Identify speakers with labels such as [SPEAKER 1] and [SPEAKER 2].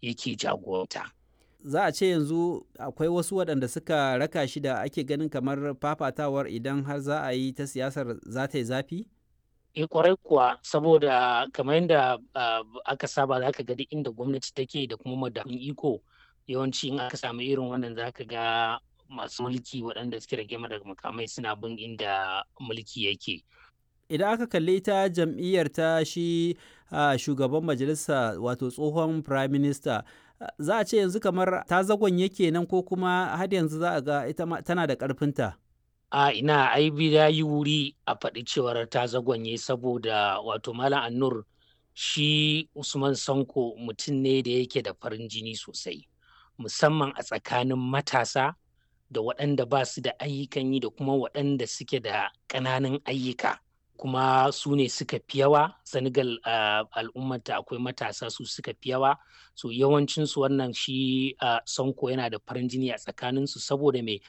[SPEAKER 1] yake jagoranta.
[SPEAKER 2] Za a ce yanzu akwai wasu waɗanda suka raka shi da ake ganin kamar fafatawar idan har za a yi ta siyasar za ta yi zafi?
[SPEAKER 1] E, kwarai kuwa, saboda kamar yadda aka saba, za ka ga duk inda gwamnati take da kuma madafun iko, yawanci in aka samu irin wannan za ka ga masu mulki waɗanda suke rage daga makamai suna bin inda mulki yake.
[SPEAKER 2] Idan aka kalli ta jam'iyyar ta shi shugaban majalisa, wato tsohon prime minister, za a ce yanzu kamar ta zagon yake nan, ko kuma har yanzu za a ga ita tana da ƙarfinta?
[SPEAKER 1] A ina, ai ya yi wuri a faɗi cewar ta zagonye, saboda wato Malam Annur, shi Usman Sanko mutum ne da yake da farin jini sosai, musamman a tsakanin matasa da waɗanda ba su da ayyukan yi da kuma waɗanda suke da ƙananan ayyuka, kuma su ne suka fi yawa Senegal. Al'ummata akwai matasa, su suka fi yawa. So yawancinsu wannan shi Sonko yana da farin jini a tsakaninsu saboda me